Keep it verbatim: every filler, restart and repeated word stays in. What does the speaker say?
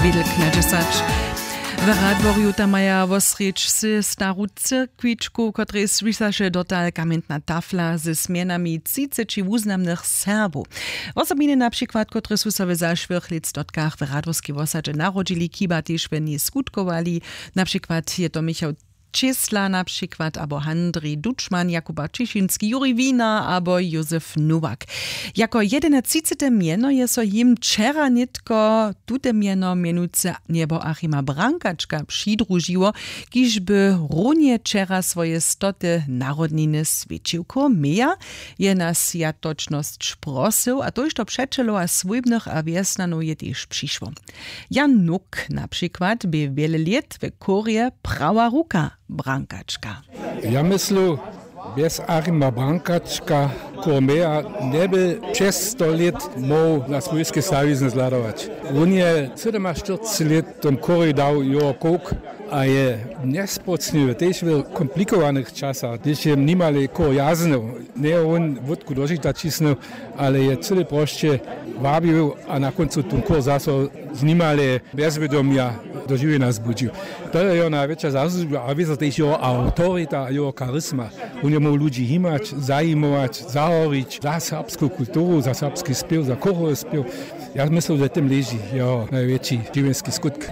Wědelk na dźesać. W Radworju tam maja wosrjedź sy staru cyrkwičku, kotrej swisaše dotal kamjentna tafla ze smjenami třiceći wuznamnych Serbow. Wosobiny na přikład, kotrež su so w zašłych lětstotkach w Radworskej wosadźe narodźili, kiba tež w njej skutkowali. Na přikład je to Michał Čěsla na přikład, abo Handrij Dučman, Jakuba Ćišinski, Juri Wiener abo Józef Nowak. Jako jedynatřicete mjeno je so jim wčera nětko tute mjeno mjenujcy njeboachima Brankačka přidružiło, kiž by runje wčera swoje stote narodniny swjećił. Komeja je na swjatočnosć prosył, a tójšto přećelow a swójbnych a wjesnjanow je tež přišło. Jan Nuk na přikład bě wjele lět w chórje prawa ruka Brankačka. Ja myslu, bjez Arima Brankačka Kormeja njeby přez sto lět móhł na swójske stawizny zhladować. Wón je sydomaštyrceći lět w tom chórju dał jeho kowk a je njespołcniwy tež w komplikowanych časach, hdyž je nimale chór jaznył, njeje wón wótku do žita ćisnył, ale je cyle prosće wabił a na kóncu tón chór zaso z nimale bjezwědomja do žiwjenja zbudźił. To je jeho najwjetša zasłužba a wězo tež jeho awtorita a jeho charisma. Wón je móhł ludźi himać, zajimować, zahorić za serbsku kulturu, za serbski spěw, za chórowy spěw. Ja myslu, że w tym leži jeho najwjetši žiwjenski skutk.